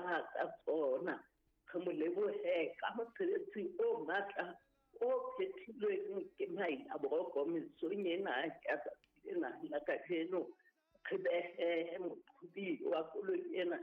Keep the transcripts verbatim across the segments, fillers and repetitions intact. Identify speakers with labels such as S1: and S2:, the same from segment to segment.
S1: leboha ka tsona. Re mo lebohe ka mosebetsi o matla o phethilweng ke Maila Boroko mesong ena ya tsatsi lena la kajeno. Re behe moqhobi wa koloi ena,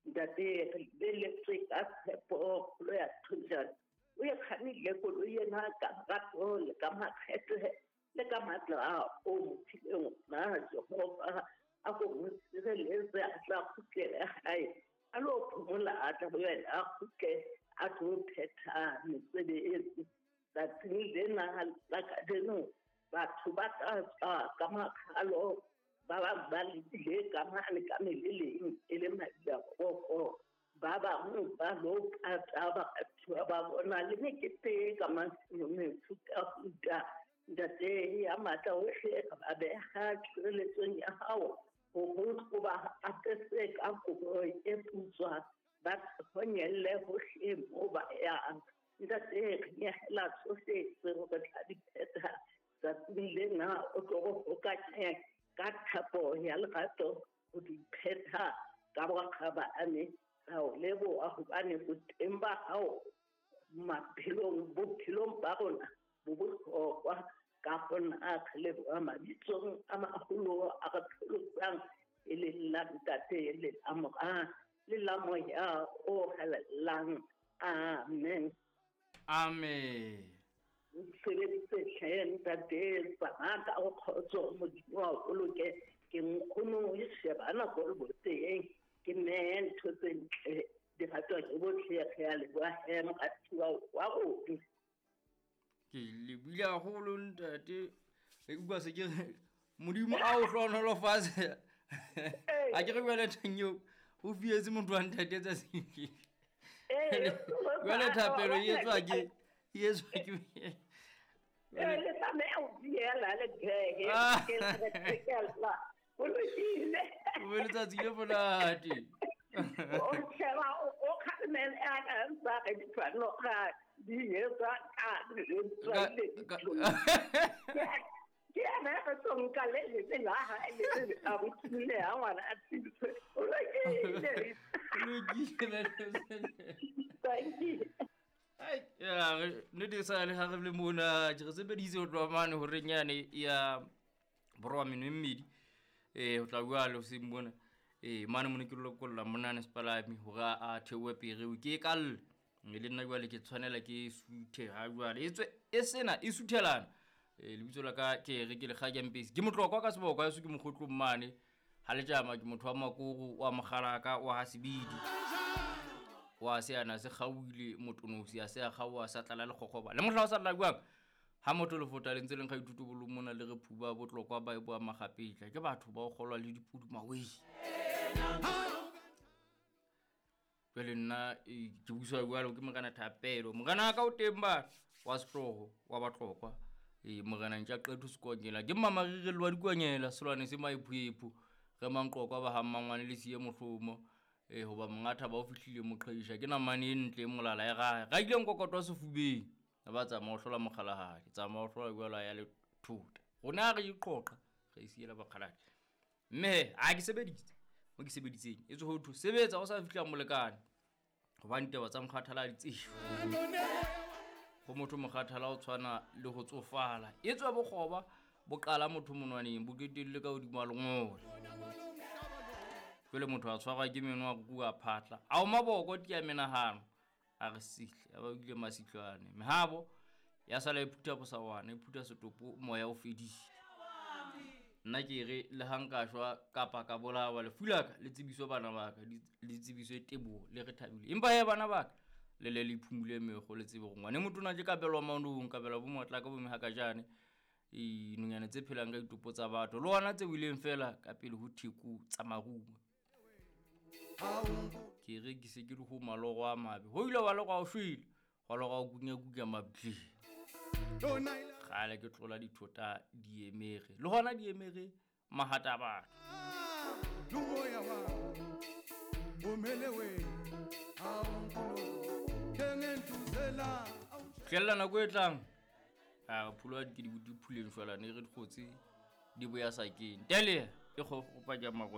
S1: ntate, re lebeletse ka tshepo kgolo ya Thojane. O e kgannile koloi ena ka lerato le ka makgethe le ka matla o mo fileng ona. Jehova a ko mo sireletse, a tla kgutlele hae a lo phomola, a tla boela a kgutle a tlo phetha mesebetsi. Tsatsing lena la kajeno batho ba tla tswa ka makgalo, ba bang ba lebile ka mane ka meleleng e le Maila Boroko, ba bang ba lo pata baratuwa ba bona le mekete ka mefutafuta. Ntate ya matla ohle, re ba beha tshireletsong ya hao hore o ba apese ka kobo e putswa, ba honyelle hohle moo ba yang. Ntate, re nyehela tsohle tseo re tla di phetha tsatsing lena, o tlo re hokanye ka thapo ya lerato ho di phetha ka bokgabane. Ra o leboha hobane boteng ba hao maphelong, bophelong ba rona bo bohlokwa. Ka hona re leboha mabitsong a maholo a re pholosang, e leng la Ntate le la Mora le la Moya o Halalelang. Amen.
S2: Amen.
S1: Sebedise hle ntate, tsamaya ka kgotso, Modimo wa o boloke. Ke nkgono e sheba nako le boteng, ke nne ntho tse ntle di ratwa ke bohle. Re a leboha he, moratuwa wa rona.
S2: Ke lebile haholo ntate, e utlwa se ke re Modimo a o hlohonolofatse. A ke re jwale teng eo o fietse motho wa ntate tsatsing le. Jwale thapelo e etswa ke e etswa ke
S1: Ee, le tlameha ho diela le phehe ke re o lokile.
S2: O be letsatsi le monate.
S1: O sheba o kgalemele a ka ntsa re ditshwanelo ga di etswa ka
S2: Ka- ka-
S1: ke ena re tlo nka le lebe la hae le a botsile ha ngwana a tsitswe. O lokile.
S2: Lokile.
S1: Thank you.
S2: Ai, ya, re- nnete sa le ha re le mona ke re sebeditse ho tloha mane horeng yane ya boroba meno e mmedi, um ho tla jwale hoseng mona, um mane mone ke lokolla monane sepalami hore a a theohe pereo ke e kalle mme le nna jwale ke tshwanela ke suthe ha jwale e tswe e sena e suthelana. um lebitso la ka ke re ke Lekgakempesi, ke motlokwa ka seboko eso, ke mokgotlong mane ha letjama, ke motho wa makoro wa mokgalaka wa ha sebidi wa se ana se kgaohile motonosi a se a kgaoha sa tlala lekgokgoba le mohla o sa lla jwang ha motho lefota le ntse leng ga ithuto bolong mona le re phuba botlokwa ba e boa magapetla ke batho ba o kgolwa le dipudi mawei. Jwale nna eh, ke buswa jwalo ke Morena Thapelo, morena wa ka o teng ba wa sehlooho wa Batlokwa, ee morena ntja qetho sekonyela ke mmamarirelo wa dikonyela selwane se maephoepho re manqokwa ba ha mmangwane le siye mohlomo, ee hoba monga thaba o fihlile moqheisha ke namane e ntle e molala e raha ra ileng kokotwa sefubeng a ba tsamaya o hlola mokgalahadi, tsamaya o hlola jwalo a ya le thota rona ha re iqoqa re isiela bakgaladi mme he a ke sebeditse mo ke sebeditseng e tswe ho thwe sebetsa o sa fihla molekane hobane taba tsa mokgathala ha di tsejwe ho motho. Mokgathala o tshwana le ho tsofala, e tswe bokgoba bo qala motho monwaneng bo qetelle ka hodima lengole. Jwale motho a tshwarwa ke meno a rua phatla a o maboko tia menahano a re sihle a ba ile masihlwane mehabo ya sala e phutha bosawana e phutha setopo moya o fedile. Nna ke re le ha nka shwa kapa ka bolawa lefu la ka le tsebiswe bana ba ka, le tsebiswe teboho le re thabile, empa he bana ba ka le le le phumule mekgo le tsebe hore ngwane motona ke kabelwa maonong kabelwa bo matla ka bo mehakajane e nonyane tse phelang ka ditopo tsa batho le ona tse wileng fela ka pele ho theko tsa marumo. Ke re ke se ke le ho maloro a mabe ho ile wa lora o shwele wa lora o kunya-kunya mabitleng kgale ke tlola dithota diemere le hona diemere mahata a batho. Tlella nako e tlang a phulo di ke di phuleng jwala ne re dikgotsi di boya sakeng tele e kgopa ja maro.